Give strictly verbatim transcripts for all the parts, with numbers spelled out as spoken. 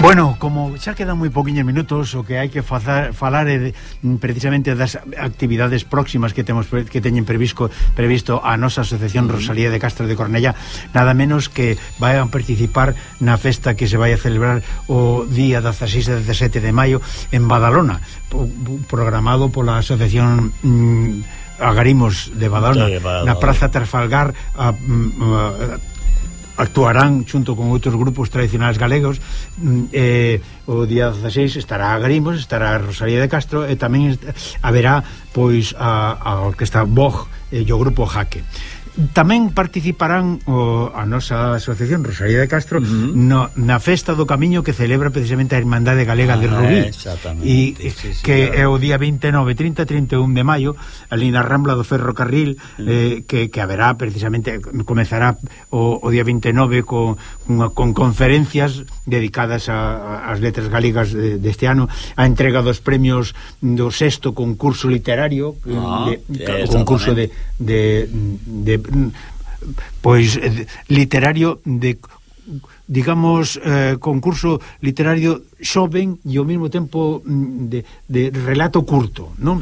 Bueno, como xa quedan moi poquinhos minutos, o que hai que fazer, falar é de, precisamente das actividades próximas que temos que teñen previsto previsto a nosa Asociación Rosalía de Castro de Cornellá, nada menos que vai a participar na festa que se vai a celebrar o día dezaseis e dezasete de maio en Badalona, programado pola Asociación mm, Agarimos de Badalona, sí, na Praza Trafalgar. a, a, actuarán xunto con outros grupos tradicionais galegos. eh, o día dezaseis estará Agarimos, estará Rosalía de Castro e tamén haberá pois a, a orquesta Boj e o grupo Jaque. Tamén participarán o, a nosa Asociación Rosalía de Castro uh-huh. no, na Festa do Camiño que celebra precisamente a Irmandade Galega ah, de Rubí e sí, sí, que claro. É o día veintenove, trinta, trinta e un de maio ali na Rambla do Ferrocarril uh-huh. eh, que, que haberá precisamente, comezará o, o día veintenove con, con, con conferencias dedicadas ás letras galegas de, deste ano, a entrega dos premios do sexto concurso literario ah, de, sí, concurso de, de, de pois literario de, digamos, eh, concurso literario xoven e ao mesmo tempo de, de relato curto, non?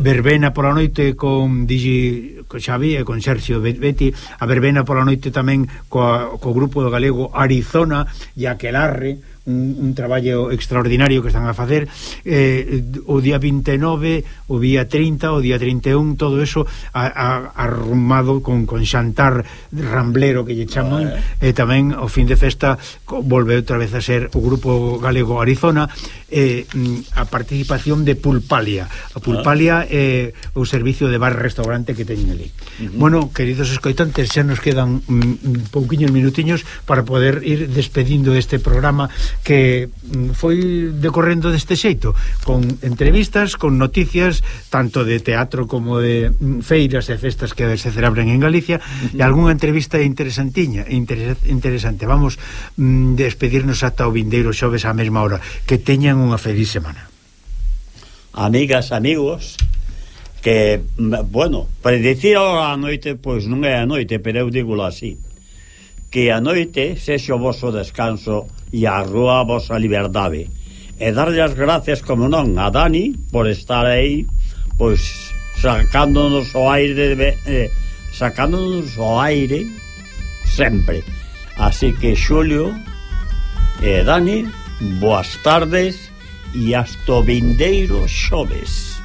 Verbena pola noite con Digi, con Xavi e con Sergio Betti, a verbena pola noite tamén co, co grupo do galego Arizona e Aquelarre, un, un traballo extraordinario que están a facer. eh, o día veintenove, o día trinta, o día trinta e un, todo eso a, a, arrumado con, con xantar ramblero que lle chaman, e tamén o fin de festa volve outra vez a ser o grupo galego Arizona, eh, a participación de Pulpalia. A Pulpalia é eh, o servicio de bar-restaurante que teñen ali. Uh-huh. Bueno, queridos escoitantes, xa nos quedan mm, pouquiños minutiños para poder ir despedindo este programa que mm, foi decorrendo deste xeito, con entrevistas, con noticias tanto de teatro como de mm, feiras e festas que se celebran en Galicia, uh-huh. e algunha entrevista interesantiña, interes- interesante. Vamos mm, despedirnos ata o vindeiro xoves á mesma hora. Que teñan unha feliz semana. Amigas, amigos, que, bueno, predicir a noite, pois non é a noite, pero eu digo así, que a noite sexe o vosso descanso e a rúa a vosa liberdade, e darlle as gracias, como non, a Dani por estar aí, pois sacándonos o aire de, eh, sacándonos o aire sempre. Así que Xulio e Dani, boas tardes e hasta o vindeiro xoves.